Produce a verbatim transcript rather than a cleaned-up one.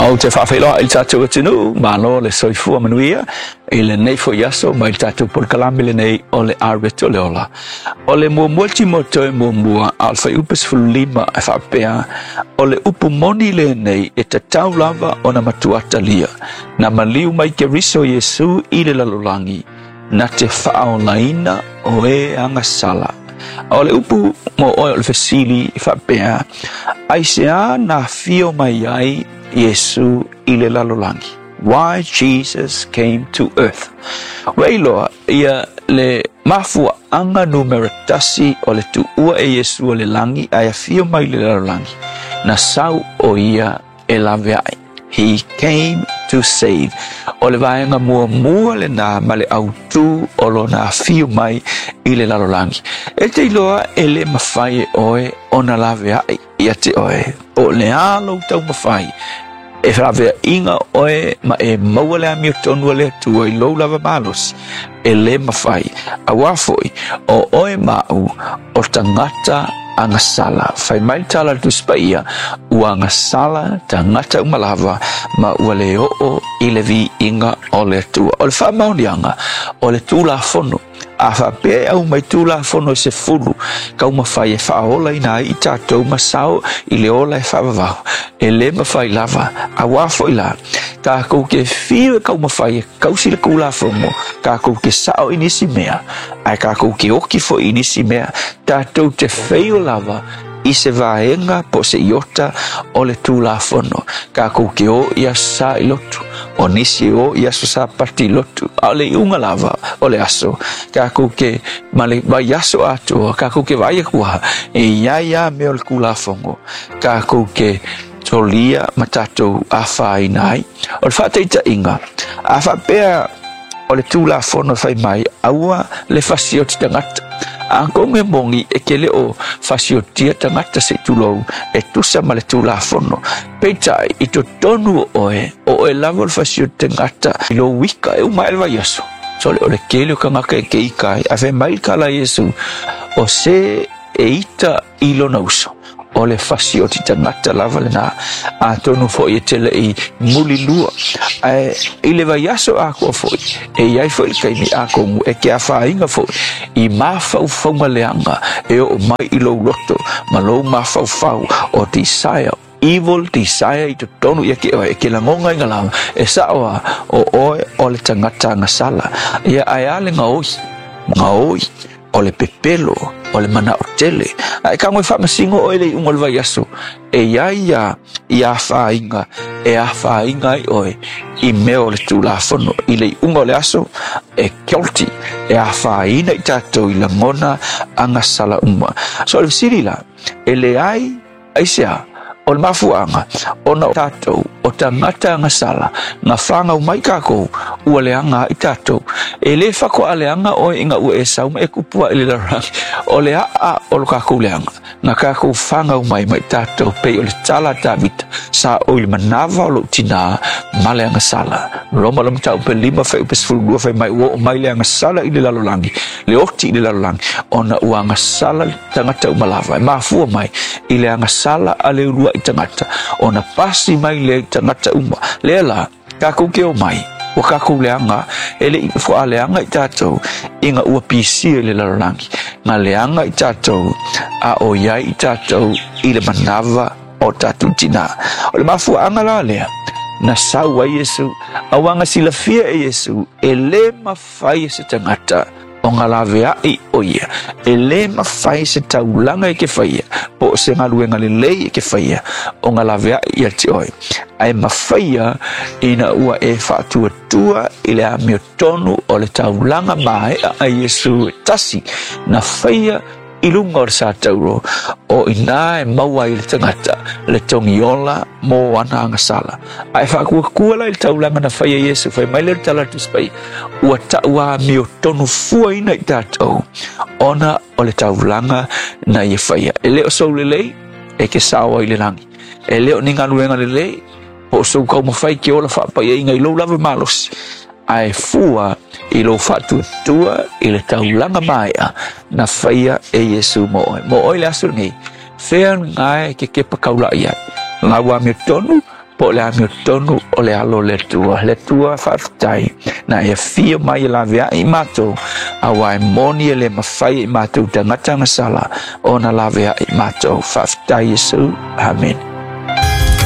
Ou te faafeiloai i le tatou atunuu, malo le soifua manuia i lenei foi aso mai le tatou polokalame lenei o le Areto le Ola. O le muamua Timoto e muamua a o le fuaiupu sefulu lima e faapea, o le upu moni lenei e tatau lava ona matua talia, na maliu mai Keriso Iesu i le lalolagi, na te faaolaina o e agasala. O le upu mo oe o le fesili e faapea, aisea na afio mai ai Iesu i le lalolagi? Why Jesus came to earth. Ua iloa ia le mafuaanga numera tasi o le tuua e Iesu o le lagi ae afio mai le lalolagi, na sau o ia e laveai. He came to save. O le vaega muamua lena ma le autū o lona afio mai i le lalolagi. E te iloa e le mafai e oe ona laveai ia te oe. O le a lou taumafai e laveaiga oe ma e maua le amiotonu a le Atua i lou lava malosi, e le mafai. Auā foi o oe ma au o tagata agasala. Fai mai le tala a le Tusi Paia, ua agasala tagata uma lava ma ua le oo i le viiga o le Atua. O le faamaoniaga o le Tulafono, a faapea e aumai Tulafono e sefulu taumafai e faaolaina ai i tatou ma sao i le ola e faavavau, e le mafai lava. Auā foi la takou ke fiu e taumafai e kausi le Tulafono, takou ke sao i nisi mea, ae takou ke oki foi i nisi mea, tatou te feio lava i se vaega po se iota o le Tulafono. Takou ke o i aso sa i lotu, o nisi o i aso Sapati i lotu, a o le iuga lava o le aso takou ke ma le vaiaso atoa, takou ke vaai atu lava e iai lava mea o le Tulafono takou ke solia ma tatou afaina ai. O le faataitaiga, a faapea o le Tulafono fai mai, aua le fasioti tagata, atonu e moni e ke le o fasiotia tagata se i tulou e tusa ma le Tulafono, peitai i totonu o oe, o oe lava o le fasioti tagata i lou ika e uma ai le vaiaso. Sole o le tele o tagata e ke ika ai, ae fai mai le tala a Iesu, o se e ita i lona uso, o le fasioti tagata lava lena. Atonu foi e te lei mulilua, ae i le vaiaso atoa foi e iai foi le taimi atonu e ke afaina foi i mafaufauga leaga e oo mai i lou loto ma lou mafaufau o desire, evil desire i totonu ia ke oe, e ke lagogaina lava e sao a o oe o le tagata agasala ia, ae a le gaoi gaoi o le pepelo o le manao tele, ae tago e faamasino oe le iuga o le vaiaso, e iai ia i afaina e afaina ai oe i mea o le Tulafono. I le iuga o le aso e guilty, e afaina i tatou i lagona agasala uma. So o le fesili la, e leai aisea o le mafuaga ona o tatou o tagata agasala na fagau mai takou ua leaga ai tatou. E lē faatoa leaga oe ina ua e sau ma e tupu ae i le lalolagi, o le aa o lo takou leaga na takou fagau mai mai tatou, pei o le tala a Tavita, sa o i le manava o lou tinā ma le agasala. Roma le mataupu lima fuaiupu sefulu lua fai mai, ua oo mai le agasala i le lalolagi, le oti i le lalolagi, ona ua agasala le tagata uma lava. E mafua mai i le agasala a le uluai tagata ona pasi mai le tagata uma. Lea la takou ke o mai ua takou leaga, e le i faaleaga i tatou ina ua pisia i le lalolagi, na leaga i tatou a o iai i tatou i le manava o tatou tinā. O le mafuaaga la lea na sau ai Iesu, auā na silafia e Iesu e lē mafai e se tagata ona laveai o ia, e lē mafai se taulaga e ke faia po o se galuega lelei e ke faia ona laveai ia te oe, ae mafaia ina ua e faatuatua i le amiotonu o le taulaga maea a Iesu e tasi na faia i luga o le satauro, o ina e maua ai le tagata le togiola mo ana agasala. Ae faakuakua la i le taulaga na faia Iesu, fai mai le tala a le Tusi Paia, ua tauamiotonu fuaina i tatou ona o le taulaga na ia faia. E le o sou lelei e ke sao ai i le lagi, e le o ni galuega lelei po o sou taumafai ke ola faapaiaiga i lou lava malosi, ae fua i lou faatuatua i le taulaga maea na faia e Iesu mo oe. Mo oe le aso lenei, fea lena e ke kepa kaulai ai, lau amiotonu Po o le amiotonu o le alo o le Atua. Le Atua faafetai na e afio mai e laveai i matou, auā e moni e le mafai e i matou tagata gasala ona laveai i matou. Faafetai Iesu. Amene.